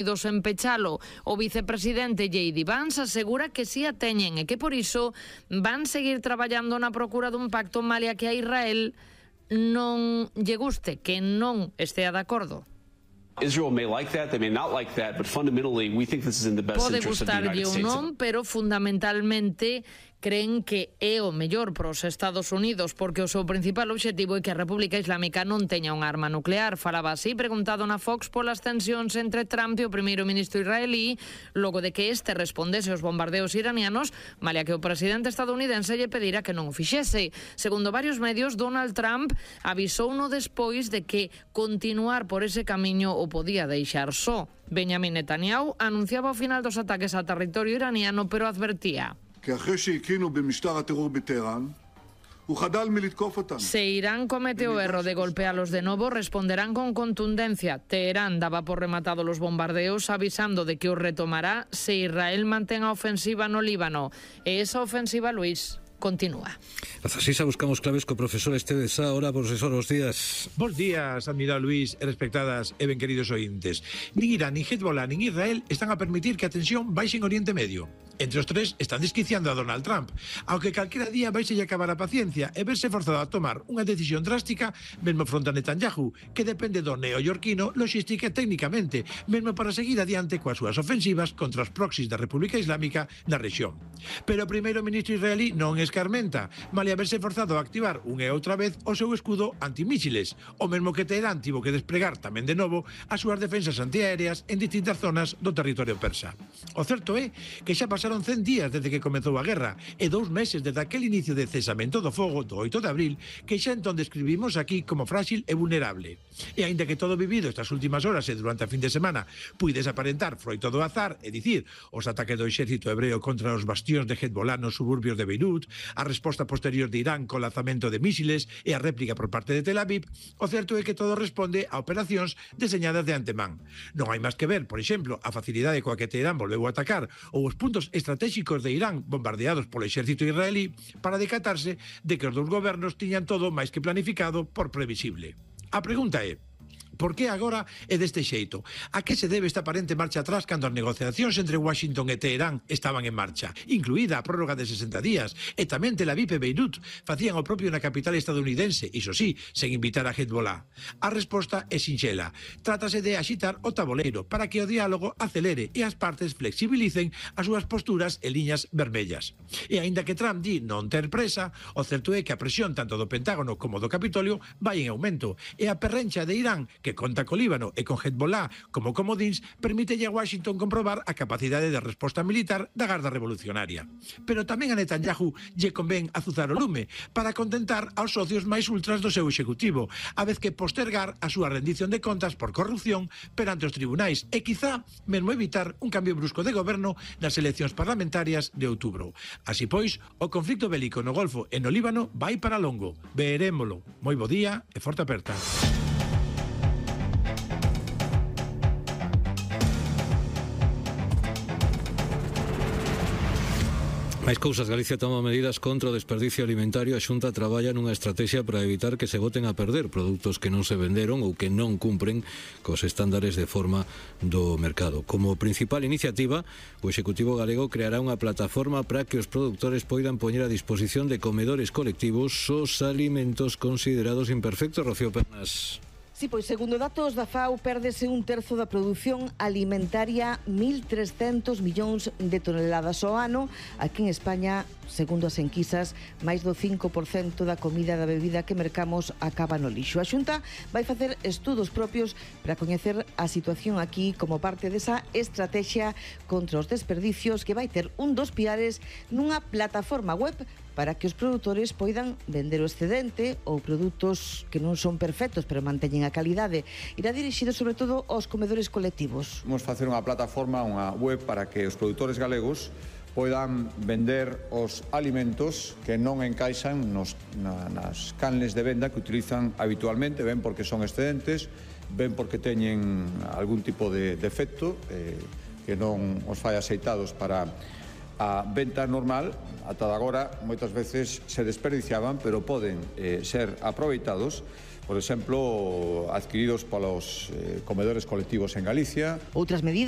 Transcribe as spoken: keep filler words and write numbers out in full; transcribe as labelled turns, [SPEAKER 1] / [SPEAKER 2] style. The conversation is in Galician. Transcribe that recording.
[SPEAKER 1] Unidos en pechalo. O vicepresidente J D Vance asegura que si a teñen e que por iso van seguir traballando na procura dun pacto malia que a Israel non lle guste, que non estea de acordo.
[SPEAKER 2] Israel may like that, they may not like that, but fundamentally we think this is in the best
[SPEAKER 1] Pode
[SPEAKER 2] interest of the United
[SPEAKER 1] gustarlle ou
[SPEAKER 2] States.
[SPEAKER 1] non, pero fundamentalmente creen que é o mellor para os Estados Unidos, porque o seu principal obxectivo é que a República Islámica non teña un arma nuclear. Falaba así, preguntado na Fox polas tensións entre Trump e o primeiro ministro israelí, logo de que este respondese aos bombardeos iranianos, malia que o presidente estadounidense lle pedira que non o fixese. Segundo varios medios, Donald Trump avisouno despois de que continuar por ese camiño o podía deixar só. Benjamin Netanyahu anunciaba o final dos ataques a territorio iraniano, pero advertía: se Irán comete o erro de golpealos de novo, responderán con contundencia. Teherán daba por rematado los bombardeos, avisando de que os retomará se Israel mantén a ofensiva no Líbano. E esa ofensiva, Luis, continúa.
[SPEAKER 3] As así buscamos claves co profesor Esteve Sá. Ahora, profesor, os días.
[SPEAKER 4] Bos días, admirado Luis, e respectadas e ben queridos ointes. Nin Irán, nin Hezbollah, nin Israel están a permitir que a tensión baixe en Oriente Medio. Entre os tres están desquiciando a Donald Trump, aunque calquera día vais a acabar a paciencia e verse forzado a tomar unha decisión drástica, mesmo fronte a Netanyahu, que depende do neoyorquino logística e técnicamente, mesmo para seguir adiante coas súas ofensivas contra os proxys da República Islámica na rexión. Pero o primeiro ministro israelí non escarmenta, malia verse forzado a activar unha e outra vez o seu escudo antimísiles, o mesmo que Teherán tivo que despregar tamén de novo as súas defensas antiaéreas en distintas zonas do territorio persa. O certo é que xa pasaron cen días desde que comezou a guerra e dous meses desde aquel inicio de cesamento do fogo do oito de abril que xa entón describimos aquí como frágil e vulnerable. E aínda que todo vivido estas últimas horas e durante a fin de semana puides aparentar froito do azar, é dicir, os ataques do exército hebreo contra os bastións de Hezbollah nos suburbios de Beirut, a resposta posterior de Irán co lanzamento de mísiles e a réplica por parte de Tel Aviv, o certo é que todo responde a operacións deseñadas de antemán. Non hai máis que ver, por exemplo, a facilidade coa que Teherán volveu a atacar ou os puntos estratégicos de Irán bombardeados polo exército israelí para decatarse de que os dous gobernos tiñan todo máis que planificado por previsible. A pregunta é: por que agora é deste xeito? A que se debe esta aparente marcha atrás cando as negociacións entre Washington e Teherán estaban en marcha, incluída a prórroga de sesenta días, e tamén Tel Aviv e Beirut facían o propio na capital estadounidense, iso sí, sen invitar a Hezbollah? A resposta é sinxela. Trátase de axitar o taboleiro para que o diálogo acelere e as partes flexibilicen as súas posturas e liñas vermellas. E aínda que Trump di non ter presa, o certo é que a presión tanto do Pentágono como do Capitolio vai en aumento, e a perrencha de Irán, que que conta co Líbano e con Hezbollah como comodíns, permítelle a Washington comprobar a capacidade de resposta militar da Garda Revolucionaria. Pero tamén a Netanyahu lle convén azuzar o lume para contentar aos socios máis ultras do seu executivo, a vez que postergar a súa rendición de contas por corrupción perante os tribunais e quizá mesmo evitar un cambio brusco de goberno nas eleccións parlamentarias de outubro. Así pois, o conflicto bélico no Golfo e no Líbano vai para longo. Verémolo. Moi bo día e forte aperta.
[SPEAKER 3] Máis cousas. Galicia toma medidas contra o desperdicio alimentario. A Xunta traballa nunha estrategia para evitar que se boten a perder produtos que non se venderon ou que non cumpren cos estándares de forma do mercado. Como principal iniciativa, o Executivo galego creará unha plataforma para que os produtores poidan poñer a disposición de comedores colectivos os alimentos considerados imperfectos. Rocío Pernas.
[SPEAKER 5] Sí, pois segundo datos da FAO, pérdese un terzo da produción alimentaria, mil trescentos millóns de toneladas ao ano. Aquí en España, segundo as enquisas, máis do cinco por cento da comida e da bebida que mercamos acaba no lixo. A Xunta vai facer estudos propios para coñecer a situación aquí como parte desa estrategia contra os desperdicios que vai ter un dos piares nunha plataforma web para que os produtores poidan vender o excedente ou produtos que non son perfectos pero manteñen a calidade. Irá dirixido sobre todo aos comedores colectivos.
[SPEAKER 6] Vamos facer unha plataforma, unha web para que os produtores galegos poidan vender os alimentos que non encaixan nos, na, nas canles de venda que utilizan habitualmente, ben porque son excedentes, ben porque teñen algún tipo de defecto eh, que non os fai aceitados para a venta normal. Ata agora moitas veces se desperdiciaban, pero poden eh, ser aproveitados por exemplo, adquiridos polos eh, comedores colectivos en Galicia.
[SPEAKER 5] Outras medidas